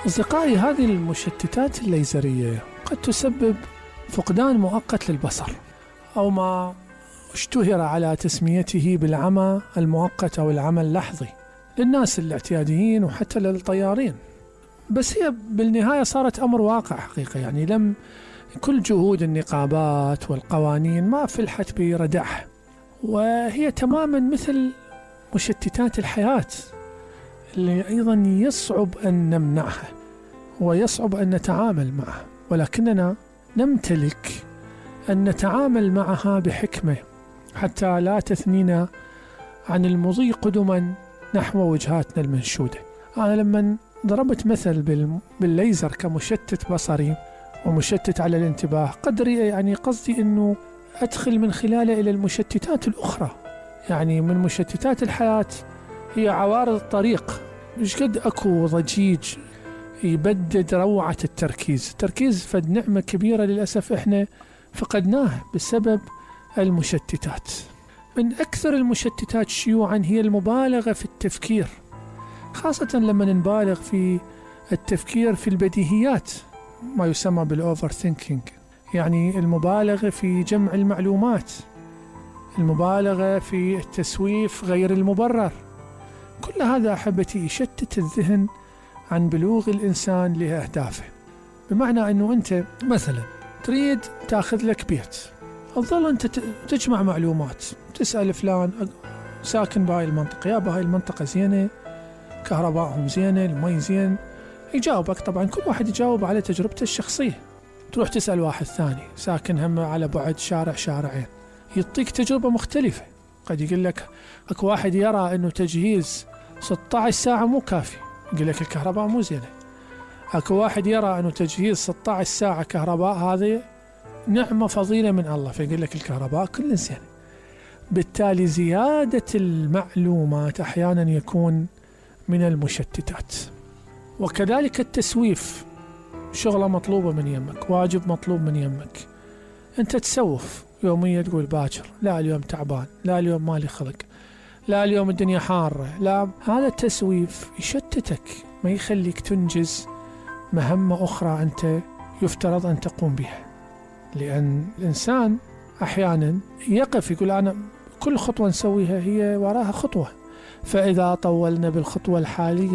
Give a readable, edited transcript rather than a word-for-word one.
أصدقائي، هذه المشتتات الليزرية قد تسبب فقدان مؤقت للبصر، أو ما اشتهر على تسميته بالعمى المؤقت أو العمى اللحظي للناس الاعتياديين وحتى للطيارين. بس هي بالنهاية صارت أمر واقع حقيقة، يعني لم كل جهود النقابات والقوانين ما فلحت بردعها، وهي تماما مثل مشتتات الحياة اللي أيضا يصعب أن نمنعها ويصعب أن نتعامل معها، ولكننا نمتلك أن نتعامل معها بحكمة حتى لا تثنينا عن المضي قدما نحو وجهاتنا المنشودة. أنا لما ضربت مثل بالليزر كمشتت بصري ومشتت على الانتباه، يعني قصدي أنه أدخل من خلاله إلى المشتتات الأخرى. يعني من مشتتات الحياة هي عوارض الطريق، مش قد أكو ضجيج يبدد روعة التركيز فد نعمة كبيرة للأسف إحنا فقدناها بسبب المشتتات. من أكثر المشتتات شيوعا هي المبالغة في التفكير، خاصة لما نبالغ في التفكير في البديهيات، ما يسمى بالأوفر ثينكينج، يعني المبالغة في جمع المعلومات، المبالغة في التسويف غير المبرر. كل هذا أحبتي يشتت الذهن عن بلوغ الإنسان لأهدافه. بمعنى أنه أنت مثلا تريد تأخذ لك بيت، تظل أنت تجمع معلومات، تسأل فلان ساكن بهاي المنطقة، يا بهاي المنطقة زينة، كهربائهم زينة، المي زين، يجاوبك. طبعا كل واحد يجاوب على تجربته الشخصية. تروح تسأل واحد ثاني ساكن هم على بعد شارعين، يعطيك تجربة مختلفة. قد يقول لك اكو واحد يرى انه تجهيز 16 ساعة مو كافي، يقول لك الكهرباء مو زينة. اكو واحد يرى انه تجهيز 16 ساعة كهرباء هذه نعمة فضيلة من الله، فيقول لك الكهرباء كل زينة. بالتالي زيادة المعلومات احيانا يكون من المشتتات. وكذلك التسويف، شغلة مطلوبة من يمك، واجب مطلوب من يمك، انت تسوف يوميا، تقول باكر، لا اليوم تعبان، لا اليوم مالي خلق، لا اليوم الدنيا حارة، لا. هذا التسويف يشتتك، ما يخليك تنجز مهمة أخرى أنت يفترض أن تقوم بها. لأن الإنسان أحيانا يقف يقول أنا كل خطوة نسويها هي وراها خطوة، فإذا طولنا بالخطوة الحالية